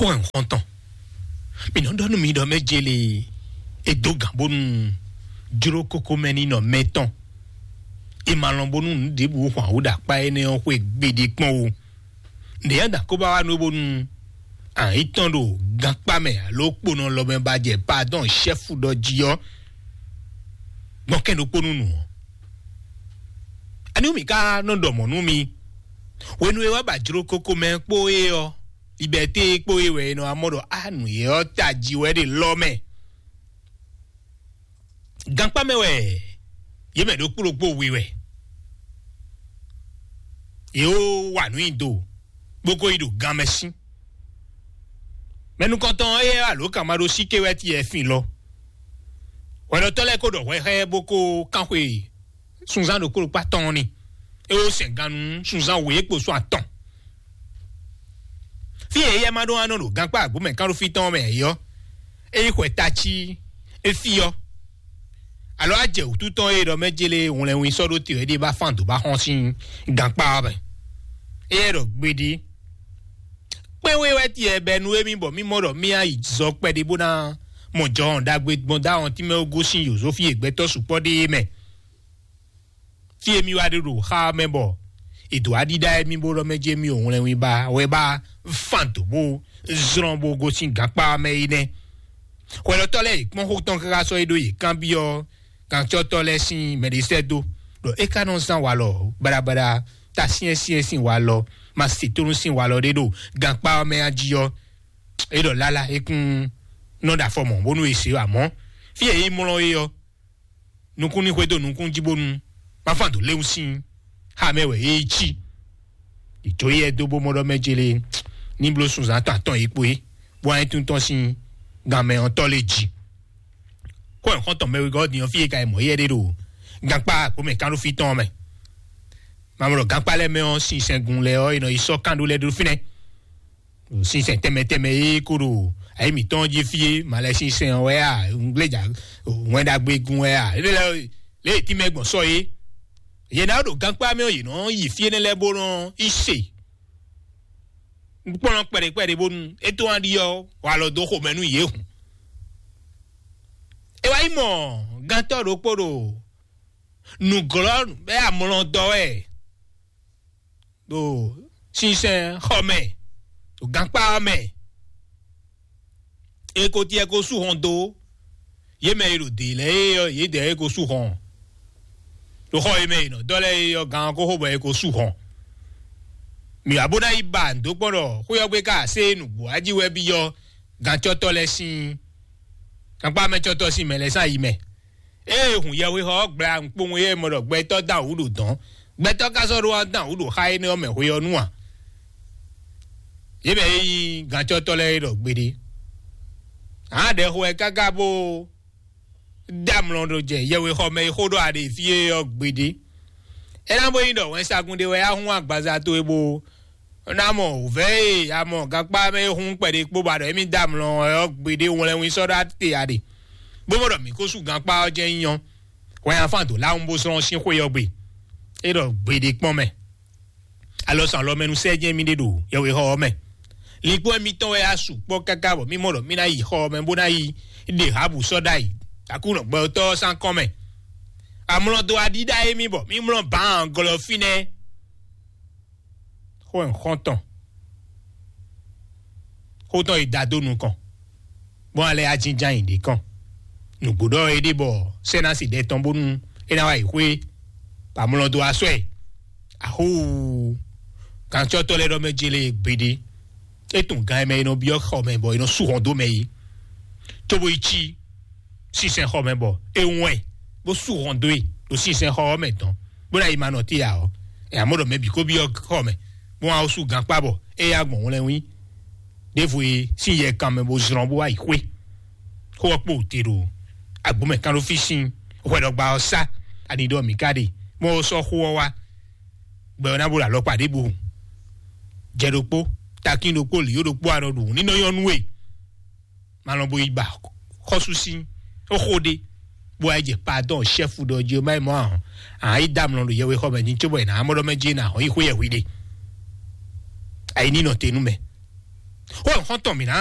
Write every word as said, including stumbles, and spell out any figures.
Kɔn ɛ xɔntɔn. Mi nɔ ɖɔ nú mi ɖɔ mɛ jele e dó gǎn bónú jló kókó mɛ ní nɔ mɛ tɔn. E ma lɔn bónú nǔ ɖěbǔ hwan wǔ ɖo akpá énɛ́ ɔ́ xwé gbeɖé kpɔ́n o. Nǔ e dǎn kó ba wá nú bónú àyín tɔn ɖo gankpá mɛ alo kponɔ lɔ mɛ ba jɛ padɔn ṣɛ́fu ɖɔ jí ɔ́, gbɔn kɛn ɖokpó nú nǔ ɔ́. Ani mi ka nɔ ɖɔ mɔ̌ nú mi? Hwenu e wá ba jló kókó mɛ kpó é ɔ́, libɛté kpó é wɛ è nɔ wá mɔ ɖɔ á nǔ e ɔ́ tají wɛ ɖe lɔ mɛ. Gankpá mɛ wɛ yě mɛ ɖokpó ɖokpó we wɛ. Yě wó wa nǔ nyi do, bó ko yi ɖo gan mɛ sín. Mɛ nukɔntɔn éyɛ́ alo kama ɖó síké wɛ ti yɛ fin lɔ. Hwɛɖɔtɔ́ lɛ́ɛ ko ɖɔ hwɛ xá ɛ bó ko kánxwe sunzán ɖokpó ɖokpó atɔn ni. É wó sɛn gannú sunzán wěkpo sɔ́ atɔn. Fí e éyɛ́ ma ɖó anɔ ɖo gankpá agbǒ mɛ kánɖófí tɔn mɛ ɛ yɔ́, é yi xwɛ tací é fí ɔ́. Alo á jɛ wǔtu tɔn e ɖɔ mɛ jélé hwlɛnwin sɔ́ ɖó te wɛ ɖé bá fán dǒ bá xɔ́n sín gankpá ɔ́ mɛ. Éyɛ́ ɖɔ gbeɖé. Kpɛ́n wé wɛ tiɛ bɛ nú émí bɔ mí mɔ ɖɔ mí á yi zɔ kpɛɖé bó ná mɔ jɔhɔn ɖagbe gbɔn dó awɔntín mɛ ó gosín yǒzó fí e gbɛtɔ́ sukpɔ́ ɖe é mɛ. Fí e mí wá ɖe ɖo xá ɔ́ mɛ bɔ è dǒ wá ɖíɖá émí bó ɖɔ mɛ jí émí ò hwlɛnwín ba wɛ bá fan dǒ bó zlɔ́n bó gosín gankpá ɔ́ mɛ é nɛ́. Hwɛɖɔtɔ́ lɛ́ɛ yě kpɔ́n xó tɔn káká sɔ́ é ɖó yě kanbyɔ́ gancɔ́tɔ́ lɛ́ɛ sín mɛɖesɛ́ dó ɖɔ é ka nɔ zán walɔ baɖabaɖa ta syɛ́nsyɛ́n sín walɔ ma se tónú sín walɔ ɖé ɖo gankpá ɔ́ mɛ a jí ɔ́. É ɖɔ lálá é kún nɔ ɖo afɔ mɔ̌ bónú è se amɔ̌ fí e é mlɔ́ é ɔ́, nukún ní xwedó nukún jí bónú ma fán dǒ léwu sín xá mɛ wɛ é cí. Ìjó yɛ dó bó mɔ ɖɔ mɛ jélé ní bló sunzán tɔn atɔn yě kpo é, bó wá nyí tún tɔn sín gan mɛ ɔ́ tɔ́ lé jí. Xó ɛ xɔ́ntɔn mɛ wegɔ́ din ɔ́ fí e ka yi mɔ̌ yɛ ɖé ɖo gankpá àgbo mɛ kánɖófí tɔn ɔ́ mɛ. Mamlɔ gankpá lɛ́ɛ mɛ ɔ́, sinsɛngun lɛ́ɛ ɔ́, è nɔ yi sɔ́ kánɖó lɛ́ɛ ɖó fínɛ́. Sinsɛn tɛnmɛ tɛnmɛ e ko ɖo ayi mǐtɔn jí fí é, malɛ sinsɛn ɔ́ wɛ a, ŋgbléjà wɛn ɖagbe gun wɛ a, lé lɛ lé tí mɛ gbɔn sɔ é. Yě ná ɖo gankpá mɛ ɔ́, yě nɔ yi fí énɛ́ lɛ́ɛ bó nɔ yi se. Kpɔ́n kpɛɖé kpɛɖé bónú é tó wá ɖi ɔ́, wà lɔ dó xomɛ nú yě hùn. É wá yi mɔ gántɔ́ ɖokpó ɖo nǔglɔ́ bɛ amlɔ dɔ wɛ ɖo sinsɛn xɔ mɛ, ɖo gankpá ɔ́ mɛ. E ko tiɛ ko sú hɔn dó yě mɛ e ɖo dě lɛ́ɛ é ɔ́, yědɛɛ e ko sú hɔn ɖo xɔ e mɛ è nɔ dɔ́ lɛ́ɛ é ɔ́, gan ɔ́ ko xo bɔ e ko sú hɔn. Mǐ wá bó ná yi ba nǔ dó kpɔ́n ɖɔ xwé ɔ́ gbe ka sé nǔgbó ají wɛ byɔ́ gancɔ́tɔ́ lɛ́ɛ sín gankpá mɛ cɔ́tɔ́ sín mɛ lɛ́ɛ sín ayi mɛ. Ée hun yɛhwexɔ ɔ́ gbla nukpowun e mɔ ɖɔ gbɛtɔ́ dán wǔ ɖo dɔ̌n, gbɛtɔ́ ka sɔ́ ɖó wá dán wǔ ɖo xá énɛ́ ɔ́ mɛ hwe ɔ́ nu a? Yě mɛ e nyí gancɔ́tɔ́ lɛ́ɛ é ɖɔ gbeɖé. Ǎ ɖɛxo wɛ káká bó dá amlɔ ɖo jɛ yɛhwexɔ mɛ e xó ɖɔ aɖe fí é ɔ́ gbeɖé. É ná bó nyí ɖɔ wɛnsagun ɖé wɛ á hún agbaza towe bó ná mɔ wǔvɛ́ e a mɔ gankpá mɛ é hún kpɛɖé kpó ba ɖɔ émí dá amlɔ ɔ́ gbeɖé wlɛ́nwín sɔ́ ɖó ate aɖe, bó mɔ ɖɔ mǐ ko sú gankpá ɔ́ jɛ́n nyí ɔ́, hwɛ afán dǒ láwun bó zlɔ́n sín xwé ɔ́ gbe. É ɖɔ gbeɖé kpɔ́n mɛ. Alɔ sɔn alɔ mɛ nu sɛ jɛ́n mì ɖe ɖo yɛhwexɔ ɔ́ mɛ. Linkpɔ́n mitɔn wɛ á su kpɔ́ káká bɔ mì mɔ ɖɔ mì ná yi xɔ ɔ́ mɛ bó ná yi ɖe Habu sɔ́ ɖ'ayǐ. Aklúnɔ gbɛtɔ́ ɔ́ sín akɔ́n mɛ. Amlɔ dó aɖíɖá émí bɔ mì mlɔ́ bǎan glɔ́ fínɛ́. Xó ɛ xɔ́ntɔn. Xó tɔn yi da dó nukɔn. Bɔn alɛ ajínján yi ɖě kɔn. Nǔgbó ɖɔ é ɖe bɔ sɛ́nási ɖɛ tɔn bónú é ná wá yi xwé bɔ amlɔ dó asɔ ɛ. Ahóo! Gǎncɔ́tɔ́ lɛ́ɛ ɖɔ mɛ jele gbeɖé. É tunwun gan e mɛ è nɔ byɔ́ xɔ mɛ bɔ è nɔ sú hɔn dó mɛ é, cóbó yi cí sinsɛn xɔ mɛ bɔ é wɛn bó sú hɔn dó e ɖo sinsɛn xɔ ɔ́ mɛ dɔn, bó ná yi ma nɔ té ǎ ɔ́, ɛ amɔ̌ ɖɔ mɛ bǐ kó byɔ́ xɔ mɛ, bó wá sú gankpá bɔ é yá gbɔn wlɛ́nwí. Ɖěvo e sín yɛ kan mɛ bó zlɔ́n bó wá yi xwé. Xó ɔ́ kpo te ɖo agbǒmɛ kán ɖó fí sín hwɛɖɔgba ɔ́ sá ani ɖɔ mǐ ka ɖe, bó sɔ́ xó ɔ́ wá. Gbɛ ɔ́ ná bo ɖo alɔkpa ɖěbǔ hǔn. Jɛ ɖokpó, takín ɖokpó, lǐyó ɖokpó anɔ ɖu hǔn ní nɔ nyɔ́ nú we. Malɔn bo yi ba xɔ́sú sín xó ɖé, bó wá yi jɛ padɔn ṣɛ́fu ɖɔ jí má yi mɔ ahɔn. Ahɔn yi dá amlɔ ɖo yɛwe xɔ mɛ ní cóbɔ yě ná mɔ ɖɔ mɛ jí ná ahɔn yi xwé yɛ hwi ɖe. Ayi ní nɔ te nú mɛ. Xó xɔ́ntɔn mǐ ná.